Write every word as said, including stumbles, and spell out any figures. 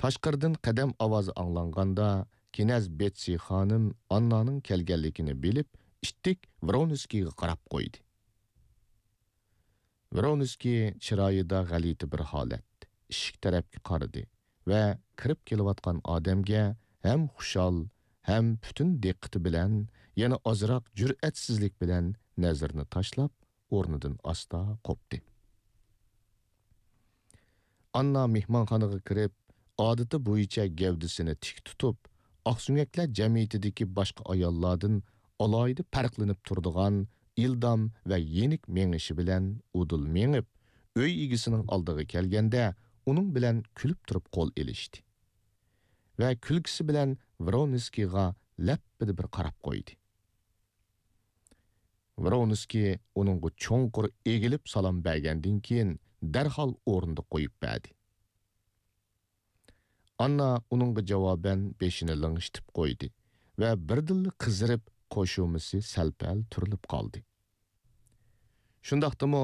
تاشقىرىدىن قەدەم ئاۋازى ئاڭلانغاندا، كىنەز بېتسى خانىم ئاننانىڭ كەلگەنلىكىنى بىلىپ، ئىتتىك ۋرونسكىيغا قاراپ قويدى. ۋرونسكىي چىرايىدا غەلىتە بىر ھالەت، ئىشىك تەرەپكە قارىدى ۋە كىرىپ كېلىۋاتقان ئادەمگە ھەم خۇشال، ھەم پۈتۈن دىققىتى بىلەن، يەنە ئازراق جۈرئەتسىزلىك بىلەن نەزىرىنى تاشلاپ، ئورنىدىن ئاستا قوپتى. ئاننا مېھمانخانىغا كىرىپ، ئادىتى بويىچە گەۋدىسىنى تىك تۇتۇپ، ئاقسۆڭەكلەر جەمئىيىتىدىكى باشقا ئاياللاردىن ئالاھىدە پەرقلىنىپ تۇرىدىغان ئىلدام ۋە يېنىك مېڭىشى بىلەن ئۇدۇل مېڭىپ، ئۆي ئىگىسىنىڭ ئالدىغا كەلگەندە، ئۇنىڭ بىلەن كۈلۈپ تۇرۇپ قول ئېلىشتى ۋە كۈلكىسى بىلەن ۋرونسكىيغا لەپپىدە بىر قاراپ قويدى. ۋرونسكىي ئۇنىڭغا چوڭقۇر ئېگىلىپ سالام بەرگەندىن كېيىن، دەرھال ئورنىدا قويۇپ بەردى. ئاننا ئۇنىڭغا جاۋابەن بېشىنى لىڭشىتىپ قويدى ۋە بىردىنلا قىزىرىپ، قوشۇمىسى سەل-پەل تۈرۈلۈپ قالدى. شۇنداقتىمۇ